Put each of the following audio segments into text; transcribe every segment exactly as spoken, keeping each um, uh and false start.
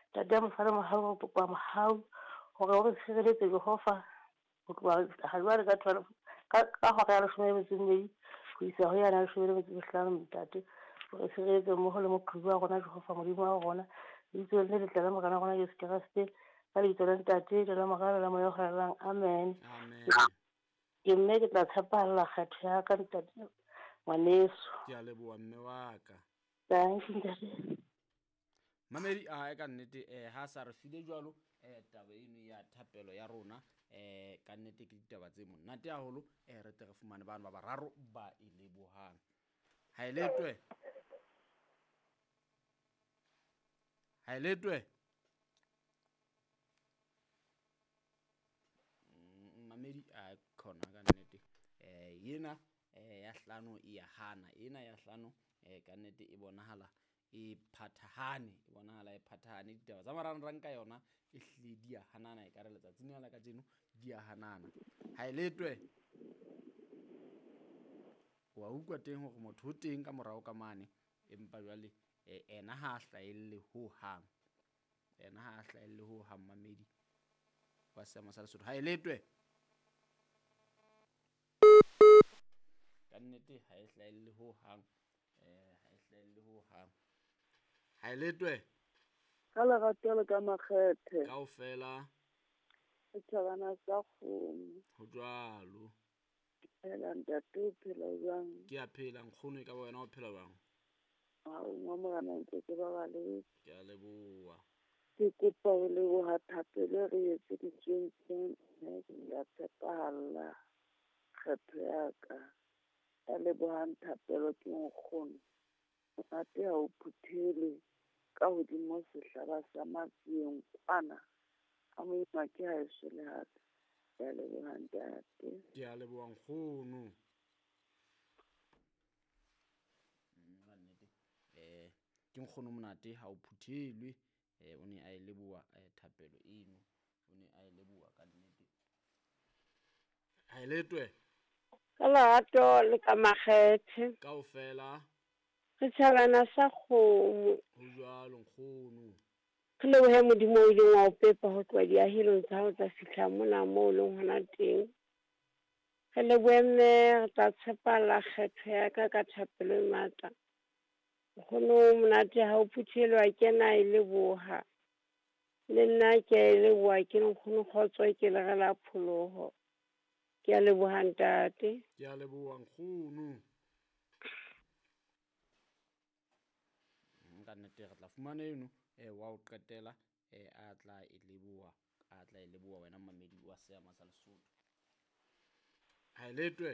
Ntate mosala mohau kopa mohau hore o re tshireletse Jehova ho tloha ha jwale ka twelve ka ka hora ya leshome le metso e mmedi ho isa ho yana leshome le metso e mehlano ntate. O re tshireletse mmoho le moqhobi wa rona Jehova Modimo wa rona. Lebitsong le letle la Morena wa rona Jesu Kreste. Ka lebitso la Ntate le la Mora le la Moya o Halalelang. Amen. Amen. Ke mme ke tla tshepahalla kgetho ya ka ntate ngwaneso. Ke a leboha mme wa ka. Thank you ntate. Mamedi a ka nnete eh ha sa re file jwalo eh taba eno ya thapelo ya rona eh ka nnete ke ditaba tse monate haholo eh re tle re fumane bana ba bararo ba e lebohang. Ha e letwe. Ha e letwe. Mamedi a khona ka nnete eh yena eh ya hlano e ya hana ena ya hlano eh ka nnete e bonahala e phathahane e bonahala e phathahane ditaba tsa marangrang ka yona e hlile di a hanana e ka re letsatsing la kajeno di a hanana. Ha e letwe wa utlwa teng hore motho o teng ka morao ka mane empa jwale ena ha a hlahelle ho hang, ena ha a hlahelle ho hang mamedi wa seemo sa Lesotho. Ha e letwe ka nnete ha e hlahelle ho hang, eh ha e hlahelle ho hang. Ha e letwe ka lerato le ka makgethe kaofela setjhabana sa kgomo ho jwalo. Phela ntate, o phela jwang? Ke a phela nkgono, e ka ba wena o phela jwang? Ha o ngwa morena ntse ke ba baletse. Ke a leboha. Ke kopa ho leboha thapelo e re etseditsweng teng, mme ke tla tshepahalla kgetho ya ka. Ya lebohang thapelo ke nkgono. Monate ha o phuthelwe ka hodimo sehlaba sa matsieng kwana. Ha moima ke haeso le hape. Ke a leboha ntate. Ke a leboha nkgono. Ka nnete eh ke nkgono monate ha o phuthelwe eh o ne a e leboha thapelo eno, o ne a e leboha ka nnete. Ha e letwe ka lerato le ka makgethe kaofela setjhabana sa kgomo ho jwalo nkgono. Re lebohe Modimo o ileng wa o pepa ho tloha diahelong tsa hao tsa fihla mona moo o leng hona teng. Re lebohe mme re tla tshepala kgetho ya ka ka thapelo e matla. Nkgono monate ha o phuthelwa ke na e leboha. Le nna ke a e leboha ke nkgono kgotso ke lere la pholoho. Ke a leboha ntate. Ke a leboha nkgono. Ka nnete re tla fumana eno eh wa o qetela eh a tla e leboha, a tla e leboha wena mamedi wa seama sa Lesotho. Ha e letwe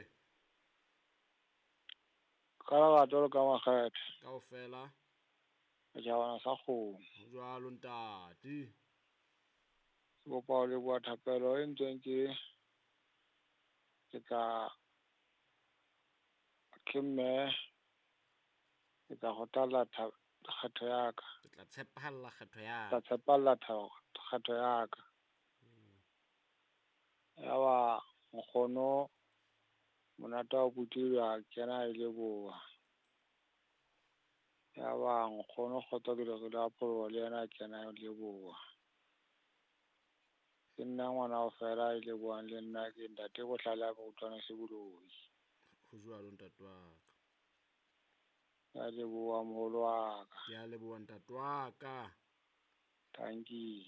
ka lerato le ka makgethe kaofela setjhabana sa kgomo ho jwalo ntate. Ke kopa ho leboha thapelo e ntseng ke ke tla ke mme ke tla kgothalla kgetho ya ka. Ke tla tshepahalla kgetho ya ka. Tla tshepahalla kgetho ya ka. Ya ba nkgono monate wa phuthelwa a kena e leboha. Ya ba nkgono kgotso ke lere la pholoho le yena a kena e leboha. Ke nna ngwana o fela e lebohang le nna ke ntate Bohlale a utlwana se boloi. Ho jwalo ntate wa ka. Ke a leboha moholo wa ka. Ke a leboha ntate wa ka. Thank you.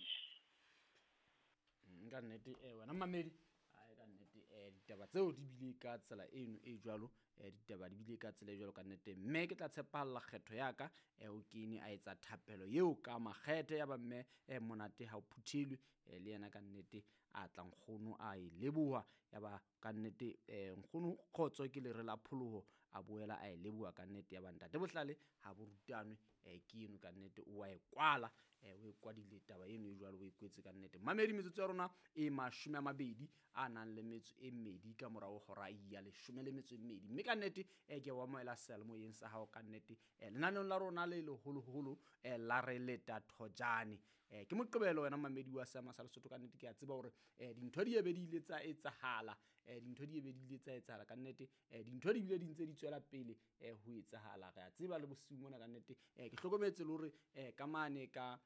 Ka nnete eh wena mamedi ai ka nnete eh ditaba tseo di bile ka tsela eno e jwalo eh ditaba di bile ka tsela e jwalo ka nnete mme ke tla tshepahalla kgetho ya ka eh o kene a etsa thapelo eo ka makgethe ya ba mme eh monate ha o phuthelwe eh le yena ka nnete a tla nkgono a e leboha ya ba ka nnete eh nkgono kgotso ke lere la pholoho a boela a e leboha ka nnete ya ba ntate Bohlale ha bo rutanwe eh ke eno ka nnete o wa e kwala eh o e kwadile taba eno e jwalo o e kwetse ka nnete. Mamedi metsotso ya rona e mashome a mabedi a nang le metso e mmedi ka morao hora ya leshome le metso e mmedi mme ka nnete eh ke wa moela seyalemoyeng sa hao ka nnete eh lenaneong la rona le leholoholo eh la re leta thojane eh ke moqebelo wena mamedi wa seama sa Lesotho ka nnete ke a tseba hore eh dintho di ebe di ile tsa etsahala eh dintho di ebe di ile tsa etsahala ka nnete eh dintho di bile di ntse di tswela pele eh ho etsahala re a tseba le bosiu mona ka nnete eh ke hlokometse le hore eh ka mane ka